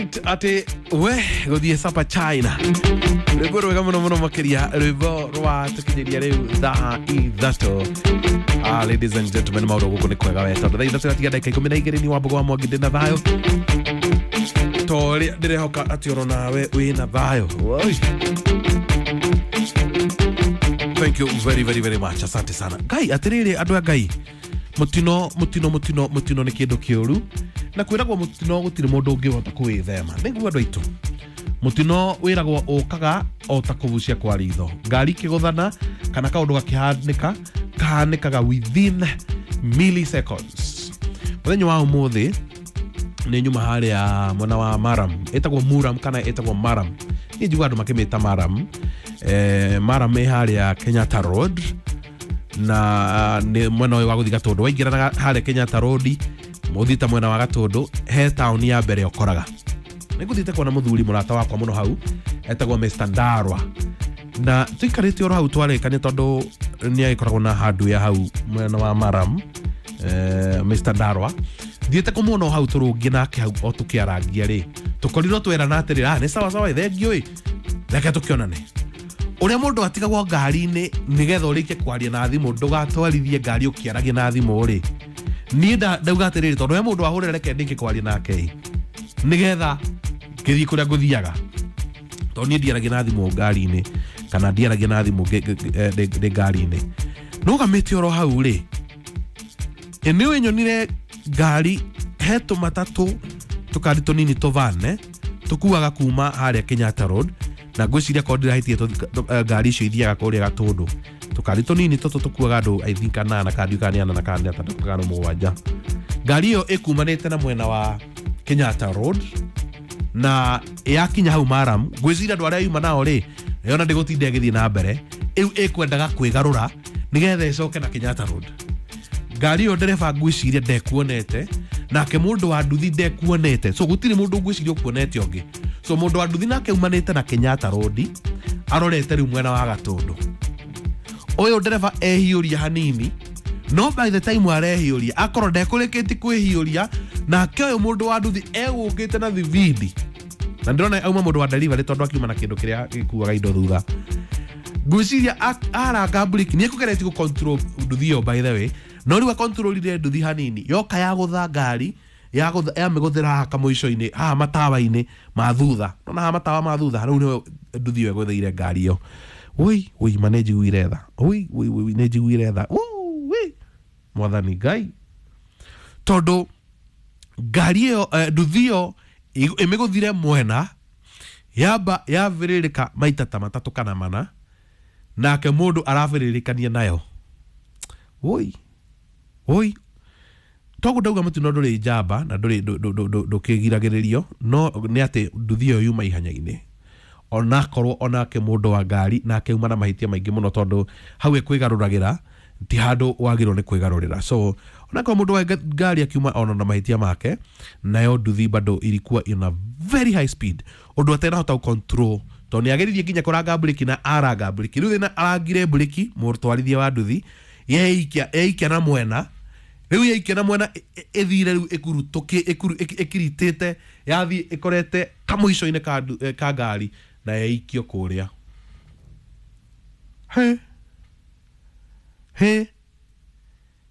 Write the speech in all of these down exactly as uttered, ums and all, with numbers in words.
Atä we gå thiä sapa China, rwĩmbo rwega mũno mũno makĩria, rwĩmbo rwa tũkinyĩria rĩu thaa ithatũ. Ah, ladies and gentlemen, maũndũ gũkũ nĩ kwega we, tondũ thaa ithatũ gatiga ndagĩka ikũmi na igĩrĩ. Ni Wambogo wa Mwangi, ndĩ na thayũ ta ũrĩa ndĩrehoka atĩ oro nawe wĩna thayũ. Oi. Thank you very very very much, asante sana. Ngai atĩrĩrĩ, andũ a Ngai, mũtino mũtino mũtino mũtino nĩ kĩndũ kĩũru, na kwĩragwo mũtino gũtirĩ mũndũ ũngĩhota kũwĩthema. Nĩguo andũ aitũ, mũtino wĩragwo ũkaga o ta kũbucia kwa ritho, ngari ikĩgũthana kana kaũndũ gakĩhanĩka, kahanĩkaga within milliseconds. Mũthenya wa ũmũthĩ nĩ nyuma harĩa mwena wa Maram, ĩtagwo Muram kana ĩtagwo Maram, niĩ njiguaga andũ makĩmĩta Maram. eh, Maram ĩ harĩa Kenyatta Road, na nĩ mwena ũyũ wa gũthiĩ Gatũndũ. Waingĩra harĩa Kenyatta Road mũthiĩte mwena wa Gatũndũ, he taũni ya mbere ũkoraga. Nĩ ngũthiĩte kuona mũthuri mũrata wakwa mũno hau etagwo Mister Ndarwa, na tũikarĩte oro hau twarĩkania, tondũ nĩ agĩkoragwo na handũ ya hau mwena wa Maram. eh, Mister Ndarwa thiĩte kũmuona o hau, tũrũngie nake hau o tũkĩarangia rĩ, tũkorirwo twerana atĩrĩrĩ, ah, nĩ sawa sawa, thengiũ ĩ, reke tũkĩonane. Ũrĩa mũndũ atigagwo ngari-inĩ nĩgetha ũrĩkie kwaria na thimũ, ndũgatwarithie ngari ũkĩaragia na thimũ rĩ, niĩ nda- ndauga atĩrĩrĩ, tondũ he mũndũ wahũrĩra, reke ndĩkie kwaria nake ĩ, nĩgetha ngĩthiĩ kũrĩa ngũthiaga, tondũ niĩ ndiaragia na thimũ ngari-inĩ kana ndiaragia na thimũ ngĩ- ngĩ- eh, ndĩ ndĩ ngari-inĩ. Nũgamĩte oro hau rĩ, ĩ nĩ nyonire ngari, he tũmatatũ, tũkari tũnini tũvane tũkuaga kuma harĩa Kenyatta Road, na ngwĩciria korwo ndirahĩtie tũ- tũ- eh, ngari icio ithiaga kũrĩa Gatũndũ. Tũkari tũnini tũtũ tũkuaga andũ, I think anana, kana ndiũĩ kana nĩ anana kana nĩ atandatũ kana mũgwanja. Ngari ĩyo ĩkumanĩte na mwena wa Kenyatta Road, na yakinya hau Maram, ngwĩciria andũ arĩa yuma nao rĩ, yona ndĩgũtinda ĩgĩthiĩ na mbere, ĩu ĩkwendaga kwĩgarũra nĩgetha ĩcoke na Kenyatta Road. Ngari ĩyo ndereba ngwĩciria ndekuonete, nake mũndũ wa nduthi ndekuonete, so gũtirĩ mũndũ ngwĩciria ũkuonete ũngĩ. So mũndũ wa nduthi nake umanĩte na Kenyatta Road arorete rĩu mwena wa Gatũndũ. Ũyũ ndereba ehiũria hanini, no by the time arehiũria, akorwo ndekũrĩkĩtie kwĩhiũria, nake ũyũ mũndũ wa nduthi egũkĩte na thibindi, na ndĩrona auma mũndũ wa delivery, tondũ akiuma na kĩndũ kĩrĩa gĩkuaga indo thutha. Ngwĩciria aranga breki, nĩ ekũgeretie gũ control nduthi ĩyo, by the way, no rĩu akontrolire nduthi hanini, yoka yagũtha ngari, yagũtha- yamĩgũthĩra haha kamũico-inĩ haha matawa-inĩ ma thutha. Nona haha matawa ma thutha, rĩu nĩho nduthi ĩyo ĩgũthĩire ngari ĩyo. Ui ui, ma nĩ njiguire tha. Ui ui ui, nĩ njiguire tha. Ui, Mwathani Ngai, tondũ ngari ĩyo, eh, nduthi ĩyo ĩ- ĩmĩgũthire mwena, yamba yabĩrĩrĩka maita ta matatũ kana mana, nake mũndũ arabĩrĩrĩkania nayo. Ui ui, toguo ndauga mũtino ndũrĩ njamba na ndũrĩ ndũ- ndũ- ndũ- ndũkĩgiragĩrĩrio, no nĩ atĩ nduthi ĩyo yuma ihenya-inĩ, onakorwo onake mũndũ wa ngari nake uma na mahĩtia maingĩ mũno, tondũ hau ĩkwĩgarũragĩra ti handũ wagĩrĩirwo nĩ kwĩgarũrĩra. So onakorwo mũndũ wa nga- ngari akiuma ona na mahĩtia make, nayo nduthi bado ilikuwa in a very high speed, ũndũ atenahota control, tondũ nĩ ageririe nginya kũranga breki na aranga breki. Rĩu thĩna, arangire breki, mũtwarithia wa nduthi yeikia yeikia na mwena. Rĩu yaikia na mwena, ĩ- ĩ- ĩthire rĩu ĩkurutũkĩ ĩkuru- ĩki- ĩkiritĩte, yathiĩ ĩkorete kamũico-inĩ ka ndu- eh, ka ngari na yaikio kũrĩa. He he,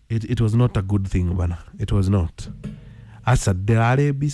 it, it was not a good thing bana, it was not. Aca ndĩrarĩ mbica.